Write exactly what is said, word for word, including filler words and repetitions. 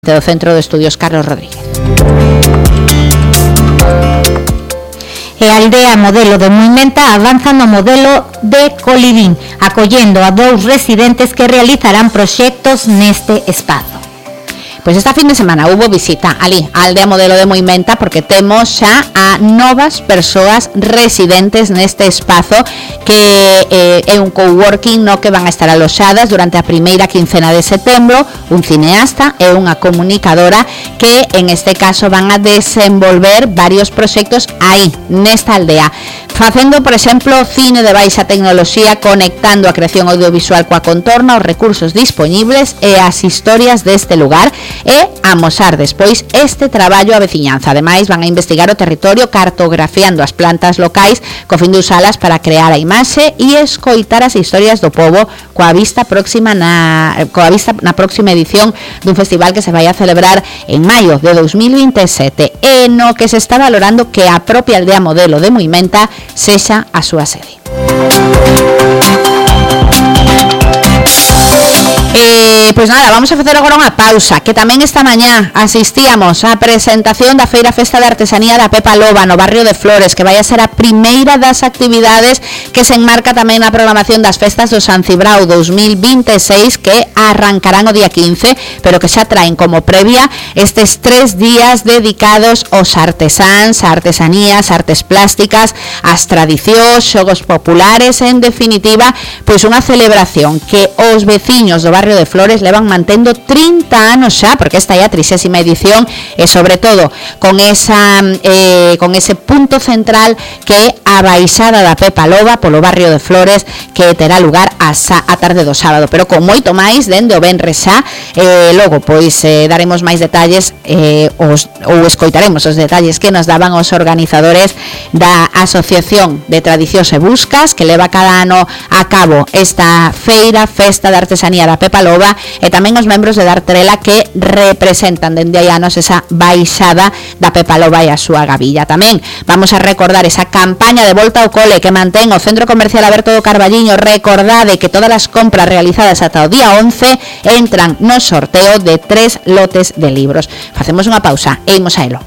do Centro de Estudios Carlos Rodríguez. E a aldea modelo de Muimenta avanza no modelo de Colibín, acollendo a dous residentes que realizarán proxectos neste espazo. Pois esta fin de semana hubo visita ali á aldea modelo de Muimenta porque temos xa a novas persoas residentes neste espazo que eh, é un coworking no que van a estar aloxadas durante a primeira quincena de setembro, un cineasta e unha comunicadora que en este caso van a desenvolver varios proxectos aí, nesta aldea, facendo, por exemplo, cine de baixa tecnoloxía, conectando a creación audiovisual coa contorna, os recursos dispoñibles e as historias deste lugar, e amosar despois este traballo a veciñanza. Ademais, van a investigar o territorio cartografiando as plantas locais co fin de usalas para crear a imaxe e escoitar as historias do pobo coa vista próxima na coa vista na próxima edición dun festival que se vai a celebrar en maio de dos mil vinte e sete, e no que se está valorando que a propia aldea modelo de Muimenta sexa a súa sede. Eh, pois nada, vamos a facer agora unha pausa, que tamén esta mañá asistíamos á presentación da Feira Festa de Artesanía da Pepa Loba no barrio de Flores, que vai a ser a primeira das actividades que se enmarca tamén na programación das festas do San Cibrao dos mil vinte e seis, que arrancarán o día quince, pero que xa traen como previa estes tres días dedicados aos artesáns, a artesanías, artes plásticas, as tradicións, xogos populares, en definitiva, pois unha celebración que os veciños do barrio de Flores levan mantendo trinta anos xa, porque esta é a trixésima edición, e sobre todo con esa eh, con ese punto central que é a baixada da Pepa Loba polo barrio de Flores, que terá lugar a, a tarde do sábado, pero con moito máis dende o venres xa. Eh, logo pois eh, daremos máis detalles eh, os, ou escoitaremos os detalles que nos daban os organizadores da Asociación de Tradicións e Buscas, que leva cada ano a cabo esta feira Festa de Artesanía da Pepa Loba, e tamén os membros de Dartrela que representan dende hai anos esa baixada da Pepa Loba e a súa gavilla. Tamén vamos a recordar esa campaña de volta ao cole que mantén o Centro Comercial Aberto do Carballiño. Recordade que todas as compras realizadas ata o día once entran no sorteo de tres lotes de libros. Facemos unha pausa e imos a elo.